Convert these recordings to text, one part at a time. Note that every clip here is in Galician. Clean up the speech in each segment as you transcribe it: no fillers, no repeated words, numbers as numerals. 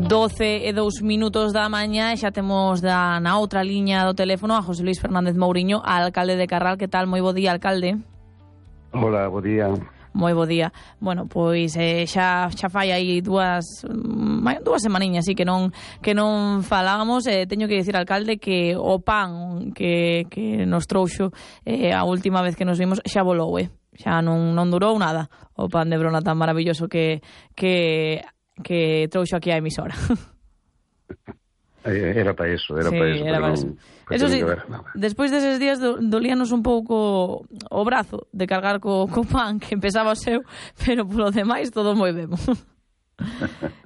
12:02 da mañá e xa temos na outra liña do teléfono a José Luis Fernández Mouriño, alcalde de Carral. Que tal? Moi bo día, alcalde. Hola, bo día. Moi bo día. Bueno, pois xa fai aí dúas semaniñas así que non falábamos. Teño que dicir, alcalde, que o pan que nos trouxo a última vez que nos vimos xa volou, xa non durou nada o pan de Brona tan maravilloso que trouxo aquí a emisora. Era para eso, Era para eso. Eso sí, despois deses días dolíanos un pouco o brazo de cargar co pan, que empezaba o seu, pero polo demais todo moi ben.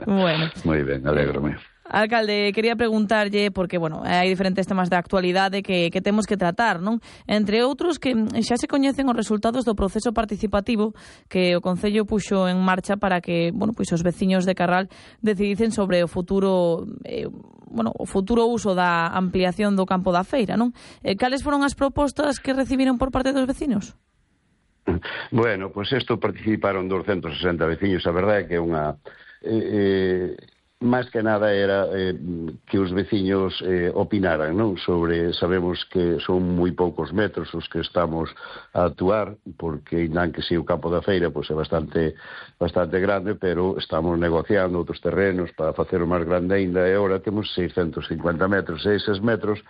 Bueno. Moi ben, alégrome. Alcalde, quería preguntarlle, porque, bueno, hai diferentes temas de actualidade que temos que tratar, non? Entre outros, que xa se coñecen os resultados do proceso participativo que o Concello puxo en marcha para que, bueno, pois os veciños de Carral decidicen sobre o futuro uso da ampliación do campo da feira, non? Cales foron as propostas que recibiron por parte dos veciños? Bueno, pois isto participaron 260 veciños. A verdade é que é unha... máis que nada era que os veciños opinaran, non? Sabemos que son moi poucos metros os que estamos a actuar, porque non que si o campo da feira pois é bastante grande, pero estamos negociando outros terrenos para facer o máis grande aínda, e agora temos 650 metros, e eses metros,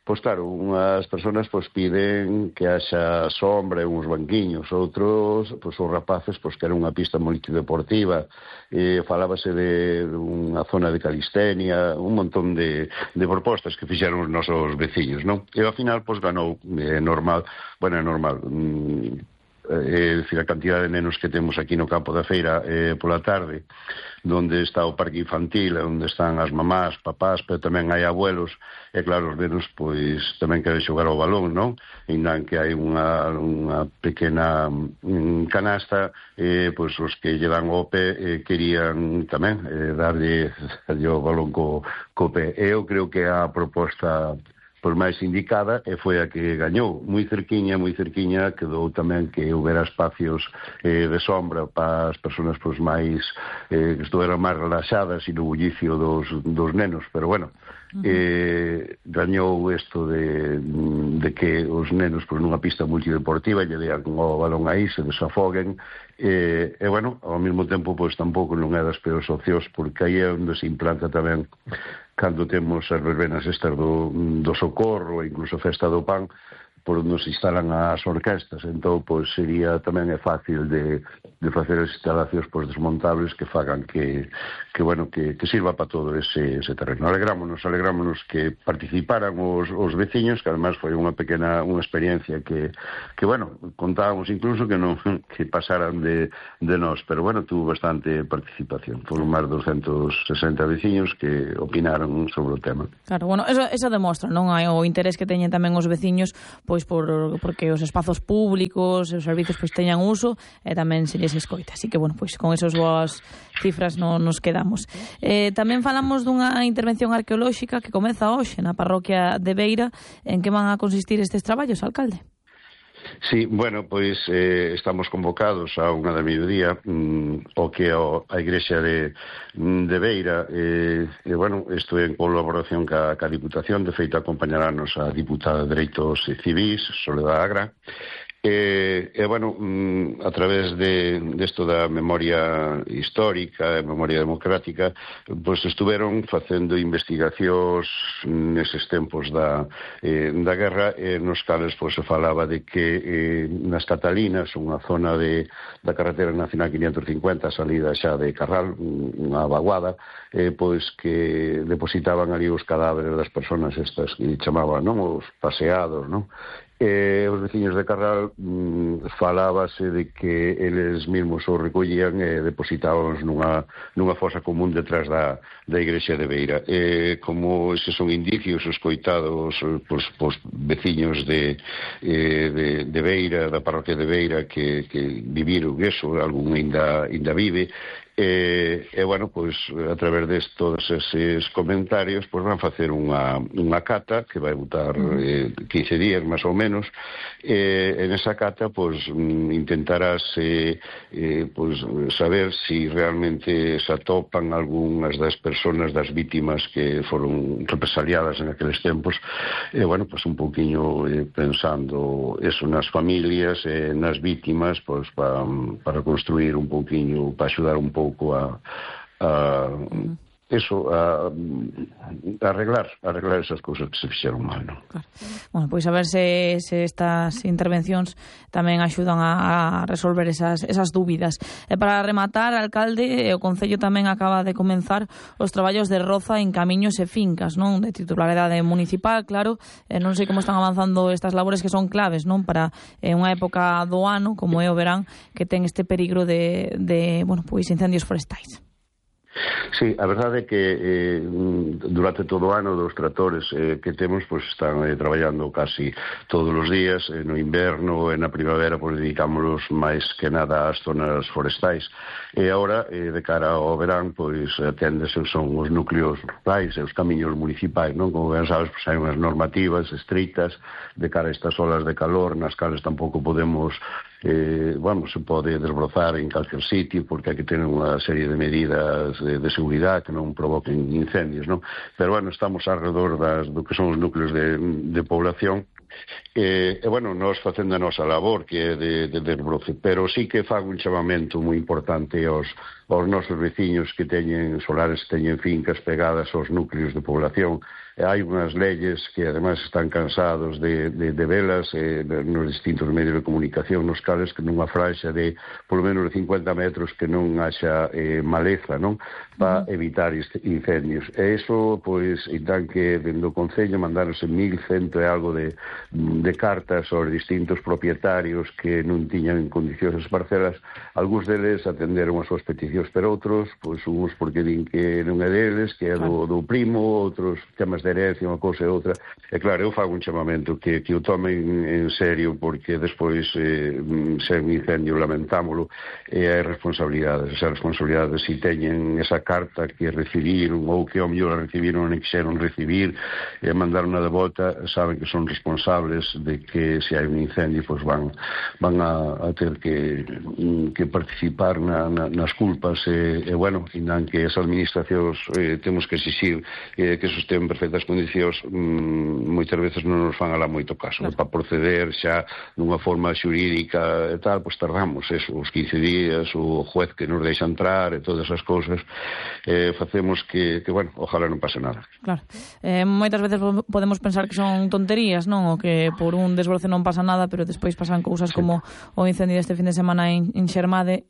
pois claro, unhas persoas pois piden que haxa sombra e uns banquiños, outros, pois os rapaces pois queren unha pista multideportiva, falábase de unha zona de calistenia, un montón de propostas que fixeron os nosos veciños, non? E ao final pois ganou, normal, é dicir, a cantidad de nenos que temos aquí no campo da feira pola tarde, donde está o parque infantil, onde están as mamás, papás, pero tamén hai abuelos, e claro, os nenos pois tamén queren xogar ao balón, non? E non que hai unha pequena canasta, pois os que lle dan o pé querían tamén darlle o balón co pé. Eu creo que a proposta pois máis indicada e foi a que gañou. Moi cerquiña quedou tamén que houbera espacios de sombra para as persoas pois máis que estuveran máis relaxadas e no bullicio dos nenos, pero bueno, gañou isto de que os nenos pois nunha pista multideportiva lle dean o balón aí, se desafoguen, e bueno, ao mesmo tempo pois tampouco non é das peores opcións, porque aí é onde se implanta tamén cando temos as verbenas estas do Socorro e incluso a Festa do Pan, por onde se instalan as orquestas. Entón, pois, sería tamén é fácil de facer as instalacións pois, desmontables que fagan que sirva para todo ese terreno. Alegrámonos que participaran os veciños, que además foi unha experiencia que contábamos incluso que pasaran de nós, pero bueno, tuvo bastante participación. Foron máis de 260 veciños que opinaron sobre o tema. Claro, bueno, eso demostra, non? O interés que teñen tamén os veciños, pois porque os espazos públicos, os servicios pois teñan uso e tamén se lles escoita. Así que, bueno, pois con esas boas cifras nos quedamos. Tamén falamos dunha intervención arqueolóxica que comeza hoxe na parroquia de Beira. En que van a consistir estes traballos, alcalde? Sí, bueno, pois estamos convocados a 1:00 PM o que é a Igrexa de Beira, e bueno, isto é en colaboración ca Diputación. De feito acompañarános a diputada de Dereitos Civís, Soledad Agra, e bueno, a través desto da memoria histórica e memoria democrática, pois estuveron facendo investigacións neses tempos da guerra, nos cales pois se falaba de que nas Catalinas, unha zona da carretera nacional 550, salida xa de Carral, unha vaguada, pois que depositaban ali os cadáveres das persoas estas que chamaban, non, os paseados, non? Os veciños de Carral falábase de que eles mesmos o recollían e depositábamos nunha fosa común detrás da Igrexa de Beira. Como eses son indicios escoitados pois veciños de Beira, da parroquia de Beira, que viviron eso, algún ainda vive, e bueno, pois a través de todos eses comentarios pois van facer unha cata que vai botar 15 días máis ou menos, menos, en esa cata pues intentarás pues saber si realmente se atopan algunhas das personas, das vítimas que foron represaliadas en aqueles tempos, bueno, pues un pouquiño pensando eso nas familias, nas vítimas, pues para construir un pouquiño, para axudar un pouco a arreglar esas cousas que se fixeron mal, non? Claro. Bueno, pois a ver se estas intervencións tamén axudan a resolver esas dúbidas. E para rematar, alcalde, o Concello tamén acaba de comenzar os traballos de roza en camiños e fincas, non? De titularidade municipal, claro. Non sei como están avanzando estas labores que son claves, non? Para unha época do ano, como é o verán, que ten este peligro de bueno, pois incendios forestais. Sí, a verdade é que durante todo o ano dos tractores que temos pues, están traballando casi todos os días. No inverno e na primavera pues, dedicámonos máis que nada ás zonas forestais, e agora de cara ao verán pois aténdese son os núcleos rurais e os camiños municipais, non? Como ben sabes, pues, hai unhas normativas estritas de cara a estas olas de calor nas cales tampouco podemos se pode desbrozar en calquer sitio porque hai que tener unha serie de medidas de seguridade que non provoquen incendios, non? Pero, bueno, estamos alrededor do que son os núcleos de población bueno, nós facendo a nosa labor que é de desbroce, pero sí que fago un chamamento moi importante aos nosos veciños que teñen solares, teñen fincas pegadas aos núcleos de población. Hai unhas leyes que ademais están cansados de velas nos distintos medios de comunicación nos cales que nunha fraixa de polo menos de 50 metros que non haxa maleza, non? Para evitar incendios. E iso, pois, então que dentro do Concello mandáronse 1.100 e algo de cartas aos distintos propietarios que non tiñan en condicións as parcelas. Algúns deles atenderon as súas peticións, pero outros, pois, uns porque din que non é deles, que é do primo, outros temas de herencia, unha cousa e outra. E claro, eu fago un chamamento que o tomen en serio, porque despois se é un incendio lamentámolo e hai responsabilidades. Esas responsabilidades, se teñen esa carta que recibiron ou que ao mellor a recibiron ou non quixeron recibir e mandaron a de volta, saben que son responsables de que se hai un incendio pois van a ter que participar nas culpas e bueno, indan que as administracións temos que exixir que sostén perfectas condicións, moitas veces non nos fan alá moito caso, para proceder xa dunha forma xurídica e tal, pois tardamos eso, os 15 días, o juez que nos deixa entrar e todas esas cousas, facemos que bueno, ojalá non pase nada. Claro, moitas veces podemos pensar que son tonterías, non? O que por un desbroce non pasa nada, pero despois pasan cousas como o incendio deste fin de semana en Xermade,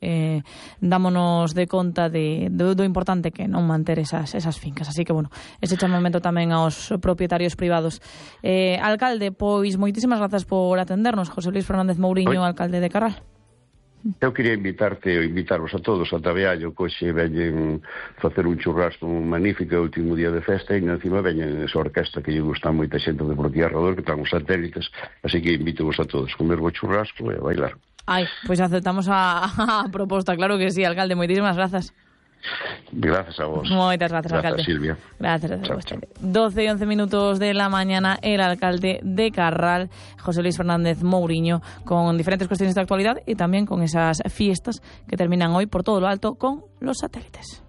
dámonos de conta do importante que non manter esas fincas. Así que, bueno, ese chamamento tamén aos propietarios privados. Alcalde, pois moitísimas grazas por atendernos. José Luis Fernández Mouriño, alcalde de Carral. Eu quería invitarvos a todos a Tabeallo, que hoxe veñen facer un churrasco magnífico, o último día de festa, e encima veñen esa orquesta que lle gusta moita xente de por aquí alrededor, que están os satélites, así que invito-vos a todos a comer o churrasco e a bailar. Ai, pois aceptamos a proposta, claro que sí, alcalde, moitísimas grazas. Gracias a vos. Moitas grazas, alcalde. Silvia. Gracias a vos. 12 y 11 minutos de la mañana, el alcalde de Carral, José Luis Fernández Mouriño, con diferentes cuestiones de actualidad y también con esas fiestas que terminan hoy por todo lo alto con los satélites.